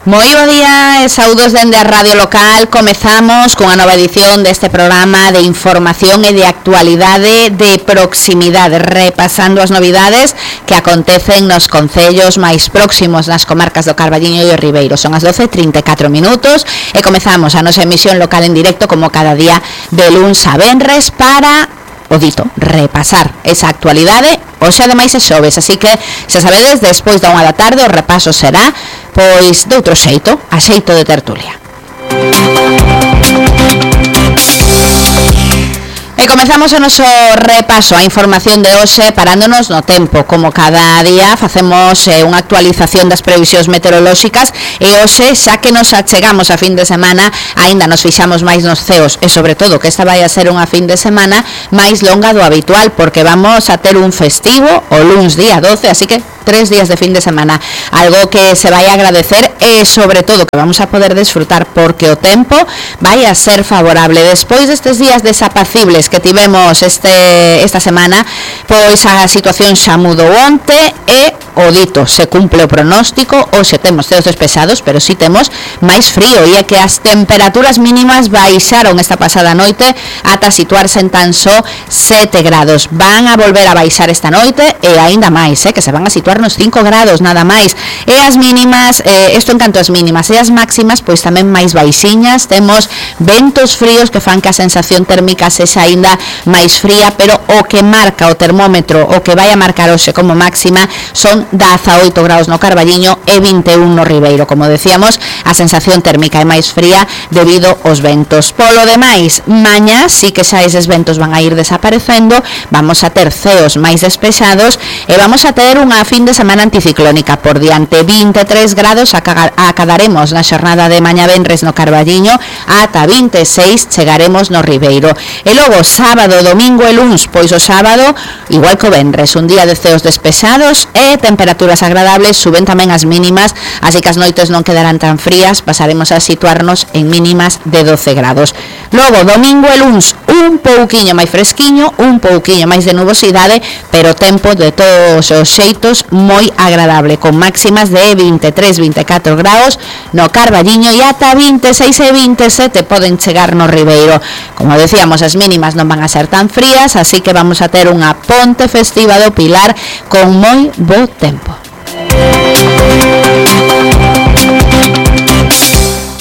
Moi bo día e saúdos dende a Radio Local. Comezamos cunha nova edición deste programa de información e de actualidade de proximidade, repasando as novidades que acontecen nos concellos máis próximos nas comarcas do Carballiño e o Ribeiro. Son as 12:34 minutos e comezamos a nosa emisión local en directo como cada día de luns a venres para o dito, repasar esa actualidade. Hoxe ademais é xoves, así que xa sabedes, despois da 1 da tarde o repaso será pois de outro xeito, a xeito de tertulia. E comezamos o noso repaso a información de hoxe parándonos no tempo. Como cada día facemos unha actualización das previsións meteorolóxicas e hoxe, xa que nos achegamos a fin de semana, aínda nos fixamos máis nos ceos e sobre todo que esta vai a ser unha fin de semana máis longa do habitual, porque vamos a ter un festivo o luns día 12, así que 3 días de fin de semana, algo que se vai a agradecer e sobre todo que vamos a poder desfrutar porque o tempo vai a ser favorable. Despois destes días desapacibles que tivemos esta semana, pois a situación xa mudou onte e o dito, se cumple o pronóstico. Hoxe temos ceos despejados, pero si temos máis frío, e é que as temperaturas mínimas baixaron esta pasada noite ata situarse en tan só 7 grados. Van a volver a baixar esta noite e aínda máis, que se van a situar nos 5 grados nada máis. E as mínimas, isto en canto as mínimas, e as máximas pois tamén máis baixiñas. Temos ventos fríos que fan que a sensación térmica sexa aínda máis fría, pero o que marca o termómetro, o que vai a marcar hoxe como máxima son 18 grados no Carballiño e 21 no Ribeiro. Como decíamos, a sensación térmica é máis fría debido aos ventos. Polo demais, mañá sí que xa eses ventos van a ir desaparecendo, vamos a ter ceos máis despexados e vamos a ter unha fin de semana anticiclónica por diante. 23 grados acadaremos na xornada de mañá venres no Carballiño, ata 26 chegaremos no Ribeiro. E logo, sábado, domingo e luns, pois o sábado, igual que o venres, un día de ceos despexados e temperaturas agradables, suben tamén as mínimas, así que as noites non quedarán tan frías, pasaremos a situarnos en mínimas de 12 grados. Logo, domingo e luns, un pouquiño máis fresquiño, un pouquiño máis de nubosidade, pero tempo de todos os xeitos moi agradable, con máximas de 23-24 graus no Carballiño e ata 26 e 27 poden chegar no Ribeiro. Como decíamos, as mínimas non van a ser tan frías, así que vamos a ter unha ponte festiva do Pilar con moi bo tempo.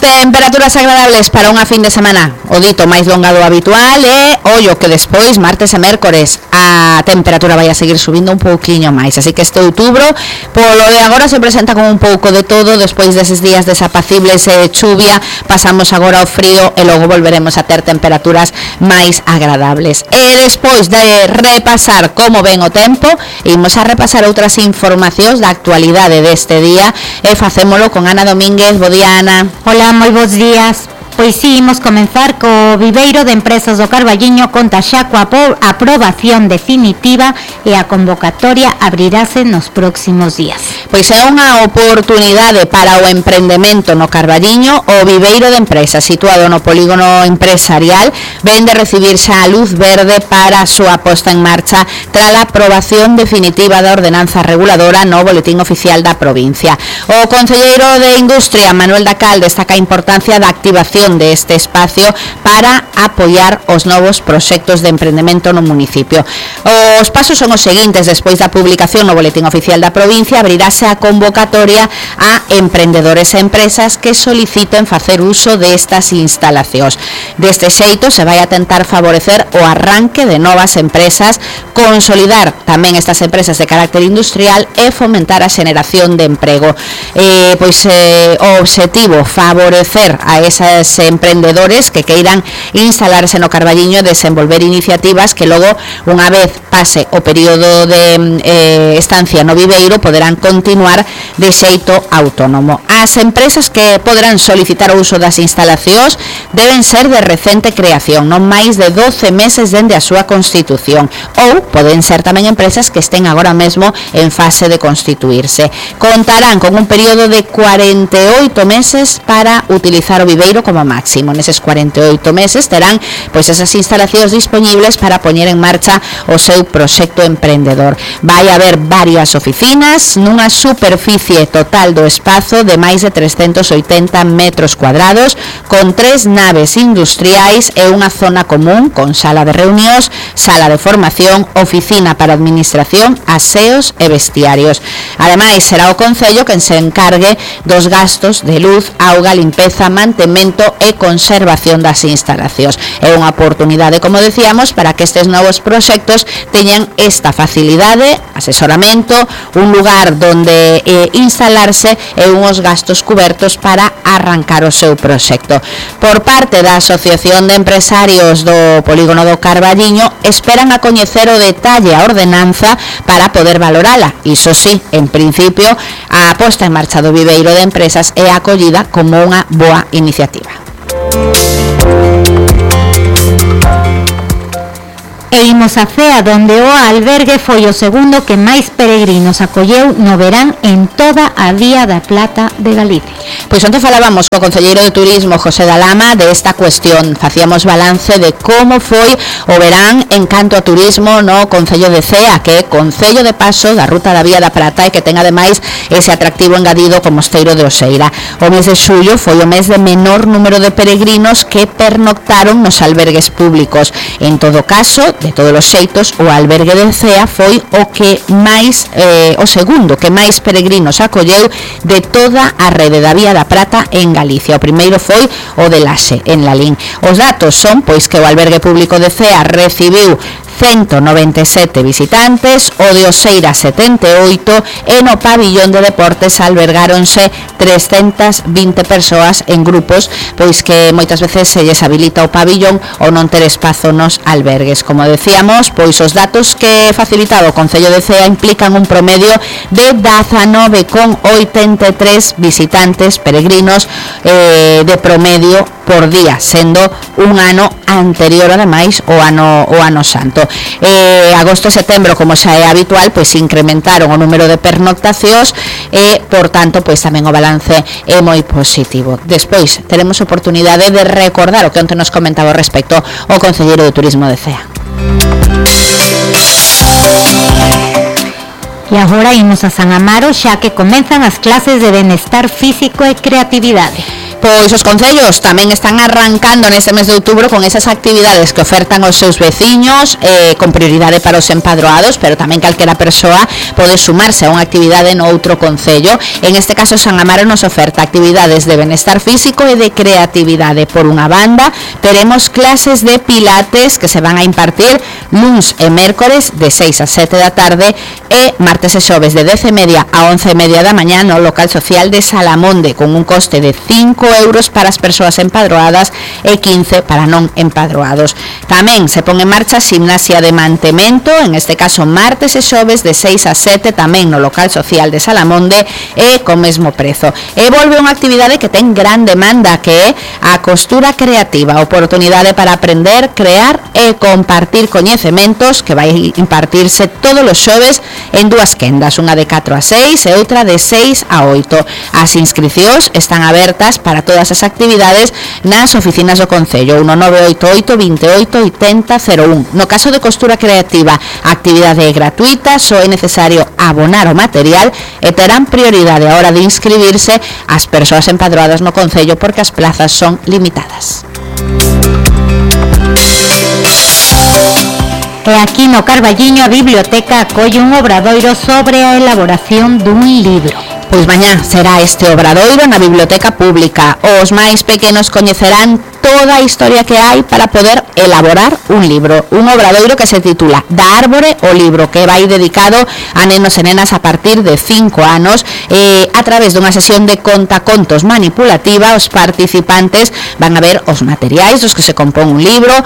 Temperaturas agradables para unha fin de semana, o dito, máis longa do habitual, e ollo que despois, martes e mércores, a temperatura vai a seguir subindo un pouquiño máis, así que este outubro, polo de agora, se presenta como un pouco de todo. Despois deses días desapacibles e de chuvia, pasamos agora ao frío e logo volveremos a ter temperaturas máis agradables. E despois de repasar como ven o tempo, imos a repasar outras informacións da actualidade deste día e facémolo con Ana Domínguez. Bo día, Ana. Hola, moi bons días. Pois sí, imos comenzar co Viveiro de Empresas do Carballiño, conta xa coa aprobación definitiva e a convocatoria abrirase nos próximos días. Pois é unha oportunidade para o emprendemento no Carballiño. O Viveiro de Empresas, situado no polígono empresarial, ven de recibir xa a luz verde para a súa posta en marcha tras a aprobación definitiva da ordenanza reguladora no Boletín Oficial da provincia. O concelleiro de Industria, Manuel Dacal, destaca a importancia da activación de este espacio para apoiar os novos proxectos de emprendemento no municipio. Os pasos son os seguintes. Despois da publicación no Boletín Oficial da provincia, abrirase a convocatoria a emprendedores e empresas que soliciten facer uso destas instalacións. Deste xeito se vai a tentar favorecer o arranque de novas empresas, consolidar tamén estas empresas de carácter industrial e fomentar a xeneración de emprego. O obxectivo, favorecer a esas emprendedores que queiran instalarse no Carballiño e desenvolver iniciativas que logo, unha vez pase o período de estancia no Viveiro, poderán continuar de xeito autónomo. As empresas que poderán solicitar o uso das instalacións deben ser de recente creación, non máis de 12 meses dende a súa constitución, ou poden ser tamén empresas que estén agora mesmo en fase de constituirse. Contarán con un período de 48 meses para utilizar o Viveiro como no máximo. Neses 48 meses terán pois esas instalacións dispoñibles para poñer en marcha o seu proxecto emprendedor. Vai haber varias oficinas nunha superficie total do espazo de máis de 380 metros cuadrados, con 3 naves industriais e unha zona común con sala de reunións, sala de formación, oficina para administración, aseos e vestiarios. Ademais, será o Concello quen se encargue dos gastos de luz, auga, limpeza, mantemento e conservación das instalacións. É unha oportunidade, como decíamos, para que estes novos proxectos teñan esta facilidade, asesoramento, un lugar donde instalarse e unhos gastos cubertos para arrancar o seu proxecto. Por parte da Asociación de Empresarios do Polígono do Carballiño, esperan a coñecer o detalle a ordenanza para poder valorala. Iso sí, en principio, a posta en marcha do viveiro de empresas é acollida como unha boa iniciativa. E imos a Cea, donde o albergue foi o segundo que máis peregrinos acolleu no verán en toda a Vía da Plata de Galicia. Pois onte falábamos co concelleiro de Turismo, José Dalama, de esta cuestión. Facíamos balance de como foi o verán en canto a turismo no Concello de Cea, que é concello de paso da ruta da Vía da Prata e que ten ademais ese atractivo engadido como Mosteiro de Oseira. O mes de xullo foi o mes de menor número de peregrinos que pernoctaron nos albergues públicos. En todo caso, de todos os xeitos, o albergue de Cea foi o que máis o segundo que máis peregrinos acolleu de toda a rede da Vía da Prata en Galicia. O primeiro foi o de Laxe, en Lalín. Os datos son pois que o albergue público de Cea recibiu 197 visitantes, o de Oseira 78 e no pabillón de deportes albergáronse 320 persoas en grupos, pois que moitas veces se lles habilita o pabillón ou non ter espazo nos albergues. Como decíamos, pois os datos que facilitaba o Concello de Cea implican un promedio de 19,83 visitantes peregrinos de promedio por día, sendo un ano anterior ademais o ano santo. Agosto e setembro, como xa é habitual, pois incrementaron o número de pernoctacións e, por tanto, pois tamén o balance é moi positivo. Despois teremos oportunidade de recordar o que onte nos comentaba respecto ao concelleiro de Turismo de Cea. E agora imos a San Amaro, xa que comenzan as clases de benestar físico e creatividade. Pois os concellos tamén están arrancando neste mes de outubro con esas actividades que ofertan aos seus veciños, con prioridade para os empadroados, pero tamén calquera persoa pode sumarse a unha actividade no outro concello. En este caso, San Amaro nos oferta actividades de benestar físico e de creatividade. Por unha banda, teremos clases de pilates que se van a impartir luns e mércores de 6 a 7 da tarde e martes e xoves de 10:30 a 11:30 da mañá no local social de Salamonde, con un coste de 5 euros para as persoas empadroadas e 15 para non empadroados. Tamén se pon en marcha gimnasia de mantemento, en este caso martes e xoves de 6 a 7 tamén no local social de Salamonde e co mesmo prezo. E volve unha actividade que ten gran demanda, que é a costura creativa, oportunidade para aprender, crear e compartir coñecementos, que vai impartirse todos os xoves en dúas quendas, unha de 4 a 6 e outra de 6 a 8. As inscricións están abertas para todas as actividades nas oficinas do Concello, 1988 28 80 01. No caso de costura creativa, a actividade é gratuita, só é necesario abonar o material e terán prioridade a hora de inscribirse as persoas empadroadas no Concello porque as plazas son limitadas. E aquí no Carballiño a biblioteca acolle un obradoiro sobre a elaboración dun libro. Pois mañá será este obradoiro na biblioteca pública. Os máis pequenos coñecerán toda a historia que hai para poder elaborar un libro. Un obradoiro que se titula Da árbore o libro, que vai dedicado a nenos e nenas a partir de 5 anos. A través dunha sesión de contacontos manipulativa, os participantes van a ver os materiais dos que se compón un libro,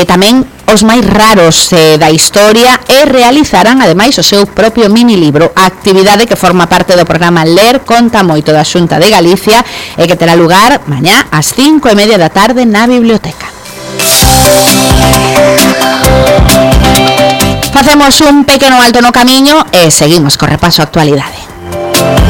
tamén os máis raros da historia, e realizarán ademais o seu propio mini libro, a actividade que forma parte do programa Ler Conta Moito da Xunta de Galicia e que terá lugar mañá ás 5:30 da tarde na biblioteca. Facemos un pequeno alto no camiño e seguimos co repaso a actualidade.